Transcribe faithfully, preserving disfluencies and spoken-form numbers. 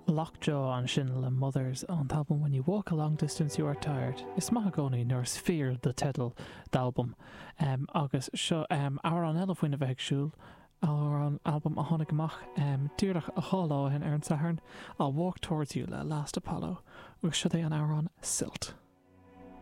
Lockjaw ansin le Mothers ón t-albam When You Walk a Long Distance You Are Tired. Is maith i gcónaí nuair is fíor do teideal d'albam. Um, agus seo um, amhrán eile faoina bheith ag siúl amhrán albam a tháinig amach um, díreach dhá lá ó shin ar an Satharn I'll Walk Towards You le Last Apollo agus seo é an amhrán Silt.